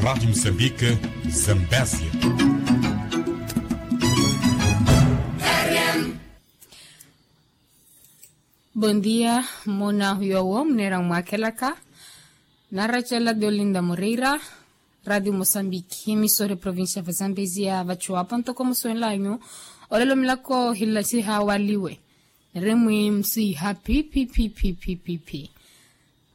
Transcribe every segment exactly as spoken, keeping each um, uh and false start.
Rádio Moçambique, Zambésia. Bon dia. Muna huyowo munera mwakhelaka. Naracela dolinda mureira. Rádio Moçambique, emissora provincia va Zambésia vachuwapo ntoko musuwenlanyu. Olelo milako hilasiha waliwe. Niremwi msiha pi pi pi pi pi pi pi.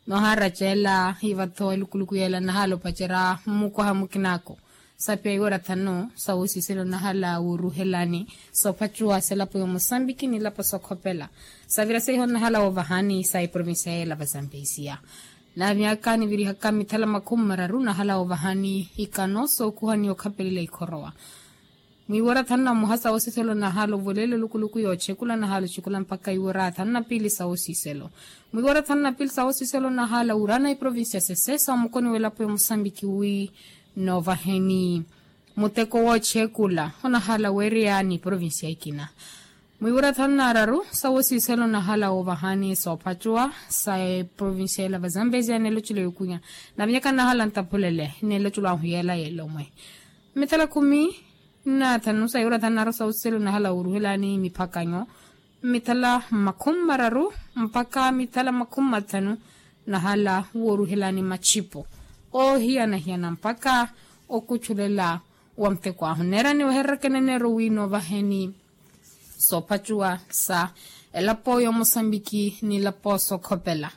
Noharacela hivatho elukuluku yela nahala opacerya mmukoha mukinako. Sapiya iwera thanu sawosiselo nahala woruhelani. Sophacuwa selapo ya mosambiki nilapo sokhopela. Savira seiho nahala wovahani sa iprovincia yela va zambezia. Na myaka nivirihaka mithala makhumi mararu nahala wovahani ikano sokuhani okhapelela ikhorowa. Mwiwora thanu na muhasa wosiselo nahala ovolele lukuluku yochekula nahala ochekula mpaka iwora thanu na pili sa wosiselo. Mwiwora thanu na pili sa wosiselo nahala wurana iprovincia sesesa omukoni welapo ya mosambiki wi novaheni muteko wochekula onahala weriyani provincia ikina. Mwiwora thanu na raru sa wosiselo nahala wovahani sophacuwa sa provincia yela va zambezia nelocelo yokunya. Na myaka nahala ntapulele nelocelo ahuyela yelomwe. Mithala khumi na thanu sa iwora thanu na raru sa wosiselo nahala woruhelani miphakanyo. Mithala makhumi mararu mpaka mithala makhumi mathanu nahala woruhelani machipo ohiyanahiyana mpaka okuchulela wa muteko ahu nera niweherereke neneero wi novaheni sophacuwa sa elapo ya mosambiki nilapo sokhopela.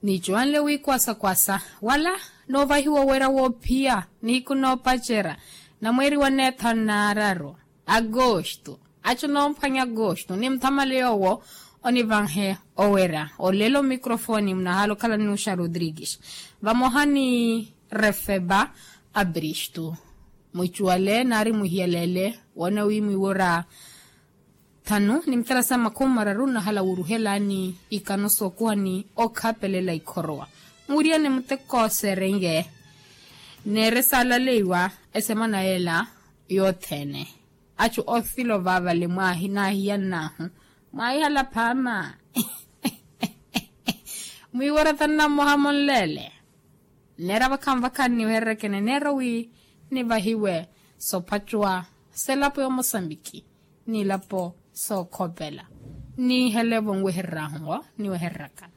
Nicuwanle wi kwasakwasa wala novahiwa owera woophiya nihiku noopacerya na mweeri wa neethanu na araru agosto. Acu noomphwanya agosto ni muthamale yoowo onivanhe owera olelo microfoni munahala okhala ni nuxa rodrigues vamoha ni refeba abristo. Mwicuwale naari muhiyalele woona wi mwiwora thanu ni mithala sa makhumi mararu nahala wuruhelani ikano sookuhani okhapelela ikhorowa. Muwiriyane muteko serenye neere saalaleiwa esemana yela yothene. Acu ofilo vaavale mwaahi naahiyannahu mwaahihala phaama. Mwiiwora thanu na mmoha monleele. Nneera vakhanvakhani niwehererekene nneero wi nivahiwe sophacuwa selapo ya mosambiki nilapo sookhopela. Niihelevo nwehererahu niwehereraka.